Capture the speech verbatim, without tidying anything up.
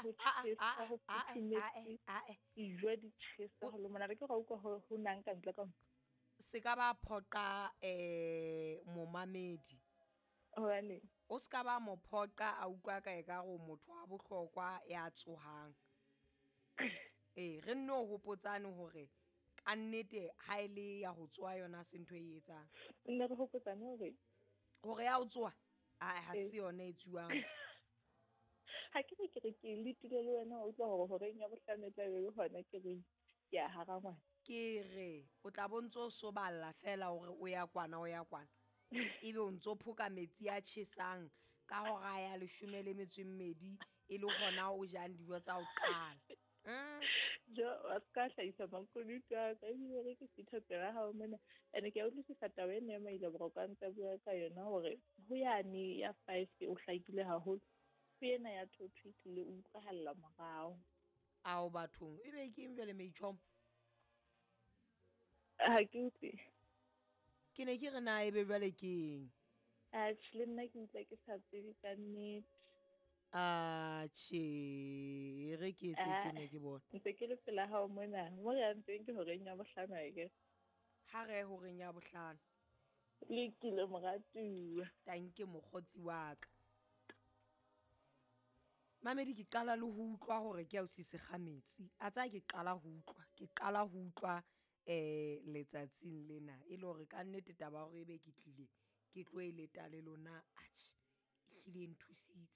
Ho ah, tjhesa, ah, ho ah, futhumetse. ah, ah. Dijo di tjhesa ho le monate. Ke ra utlwa ho ho nang ka ntle ka mo. Se ka ba phoqa eh momamedi. Hobane O ska ba mo phoqa a utlwa ka e ka re o motho wa bohlokwa ya tsohang. Ee, re nno hopotsane hore ka nnete ha e le ya ho tsoha yona se ntho e etsang. Nne re hopotsane hore Hore ya ho tsoha, ae ha Ee. se yona e tsuwang. Ha ke re ke re ke letile le wena wa utlwa hore horeng ya bohlano e tla be le hona ke re ke a hara ngwana. Ke re o tla bo ntso soballa fela hore o ya kwana o ya kwana. Ebe o ntso phoka metsi a tjhesang ka hora ya leshome le metso e mmedi e le hona o jang dijo tsa ho qala. Mm. Jo, wa ska hlahisa makunutu a ka ebile re ke sitha pela hao mona. Ene ke a utlwisisa taba ena ya Maile Boroko a ntse a bua ka yona hore ho yane ya five o hlakile haholo. Ho ena ya two two tlile o utlwahalla morao. Ao bathong, ebe ke eng jwale meitjhomo? Ha ke utlwe. Ke ne ke re na ebe jwale ke eng? Atjhe, le nna ke utlwa ke sa tsebe ka nnete. Atjhe, e re ke etse Ah. tjena ke bone. Ntse ke le pela hao mona. Mo re yang teng ke horeng ya bohlano akere. Ha re ye horeng ya bohlano. Lokile moratuwa. Tanke mokgotsi wa ka. Mamedi ke qala le ho utlwa hore ke ausi Sekgametsi. A tsaya ke qala ho utlwa, ke qala ho utlwa eh letsatsing lena e le hore ka nnete taba ya hore ebe ke tlile ke tlo e leta le lona atjhe ehlile e nthusitse.